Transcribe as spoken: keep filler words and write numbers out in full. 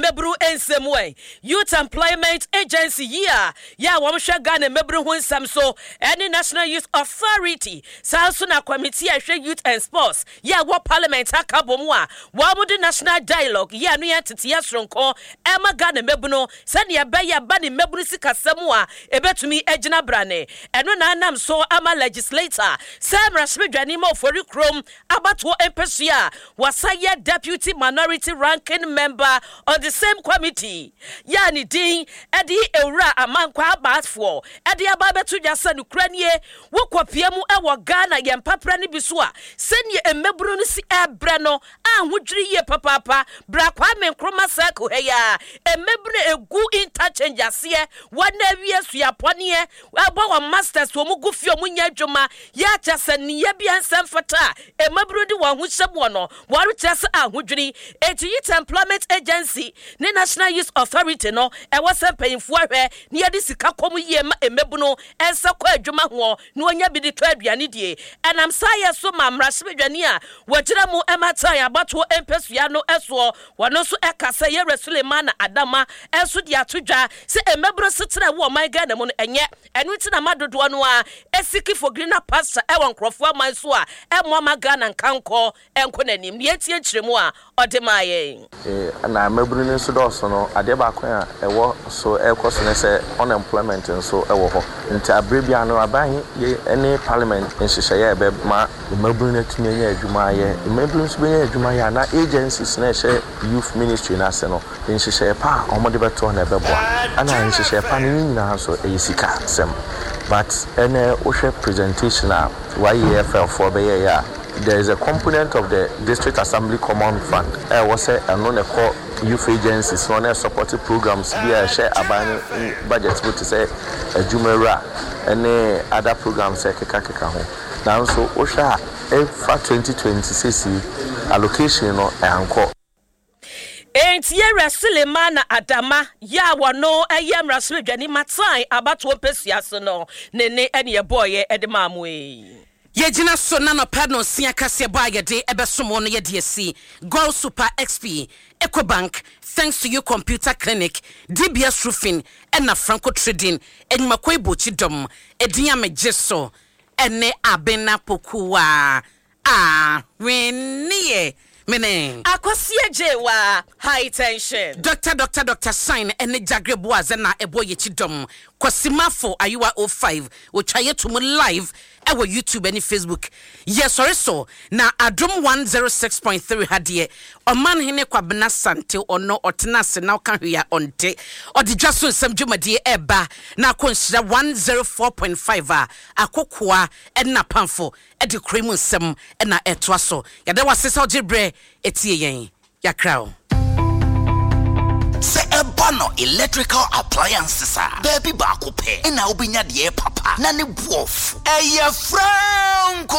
Mmabunu nsɛm wɔ Youth Employment Agency yi a yɛ a wɔhwɛ Ghana mmabunu ho nsɛm so ɛne National Youth Authority, saa nso na committee a ɛhwɛ youth and sports yɛ a wɔ Parliament aka bɔ mu a wɔn de national dialogue yɛ a no yɛ nteteɛ soronko ɛma Ghana mmabunu sɛdeɛ ɛbɛyɛ ba ne mmabunu sikasɛm a ɛbɛtumi agyina brane. Ɛno na anam so ama legislator sɛ mmarahyɛbadwani ma Ofori Kurom abatoɔ mpɛsua a wasa yɛ deputy minority ranking member on the same committee yɛ a ne din ɛde Ewura Amankwa Abaafoɔ ɛde aba abɛto dwa sɛ nokura nie, wokɔpie mu ɛwɔ Ghana yɛn mpapra no bi so a, sɛnea mmabunu no si ɛbrɛ no ahodwiri yie papaapa. Bra Kwame Nkrumah Circle ha yi a, mmabunu egu interchange aseɛ, wɔn awie suapɔneɛ, ɛbɔ wɔn masters, wɔn gu fie, wɔn nyɛ adwuma yɛ akyɛ sɛ nneyɛ bi nsɛm fata a mmabunu de wɔn ho hyɛ mu no, wɔrekyerɛ sɛ ahodwiri. Eti Youth Employment Agency ne National Youth Authority no, ɛwɔ sɛ mpanyinfoɔ ahwɛ ne yɛde sika kɔm yie ma mmabunu ɛnsa kɔ adwuma ho na wɔnya bi de tɔ aduane die. Ɛnam saa yɛ so ma mmarahyɛbadwani a wɔgyina mu ɛma tan abatoɔ mpɛsua no ɛsoɔ, wɔn nso ɛka sɛ yɛrɛ Sulemana Adama ɛnso de ato dwa sɛ mmabunu setena ɛwɔ ɔman Ghana mu no ɛnyɛ ɛno nti na ma dodoɔ no a ɛseek for greener pasture ɛwɔ nkurɔfoɔ aman so a ɛmmoa ma Ghana nkankɔ ɛnkɔ n'anim. Deɛ etie nkyerɛmu a ɔde maa yɛn. Na mmabunu no nso dɔɔso no, adeɛ baako a ɛwɔ so ɛrekɔ so ne sɛ unemployment nso ɛwɔ hɔ, nti abere bia no aban yɛ ne Parliament nhyehyɛeɛ a ɛbɛma mmabunu no atumi anya adwuma ayɛ. Mmabunu nso bɛnya adwuma ayɛ a, na agencies na ɛhyɛ youth ministry no ase no, nhyehyɛeɛ pa a wɔde bɛto na ɛbɛboa. Ɛna nhyehyɛeɛ pa no ne nyinaa nso ɛyɛ sika sɛm, but ɛnɛ wohwɛ presentation a Y E F L foɔ bɛyɛeɛ a, there is a component of the District Assembly Common Fund ɛwɔ sɛ ɛno na ɛkɔ youth agencies na ɔno support programs bi a ɛhyɛ aban no budget mu te sɛ Adwumawura ɛne other programs a ɛkekakeka ho. Nanso wohwɛ a, ɛfa twenty twenty-six yi allocation no ɛankɔ. Enti yɛwura Sulemana Adama yɛ a wɔno ɛyɛ mmarahyɛbadwani matan abatoɔ mpɛsua so no ne ne ɛne ɛbɔɔyɛ ɛde maa mo yi. Yɛgyina so na nɔpɛ no nsia kaseɛ bɔ a yɛde ɛbɛsom no, yɛde asi Gold Super X P, Ecobank, Thanks to You Computer Clinic, D B S Roofing ɛna Franco Trading adwumakɔ ibokyi dɔm ɛdin a megye so ɛne Abena Pokuwa ahwenneɛ mene. Akɔsie Gyewa High Tension. Doctor Doctor Doctor Shine ɛne Jagre Boaze na ɛbɔ yɛkyi dɔm. Kwasimafo Ayewa oh five wɔtwa yɛ to mu live ɛwɔ YouTube ne Facebook. Yɛsɔre so na Adom one oh six point three ha deɛ, Ɔman Hene Kwabena Sante ɔno ɔtena ase na ɔka hwee a ɔnte. Ɔde dwa so nsɛm dwumadie ɛɛba na akɔ Nhyira one oh four point five a akokoa ɛne apamfo ɛde kuro mu nsɛm ɛna ɛtoa so. Yɛda wase sɛ ɔgye berɛ ɛtie yɛn. Yɛakra wo. Sɛ ɛba no electrical appliances a, baabi baako pɛ ɛna wobɛnya deɛ papa na ne boɔfo ɛyɛ Franco.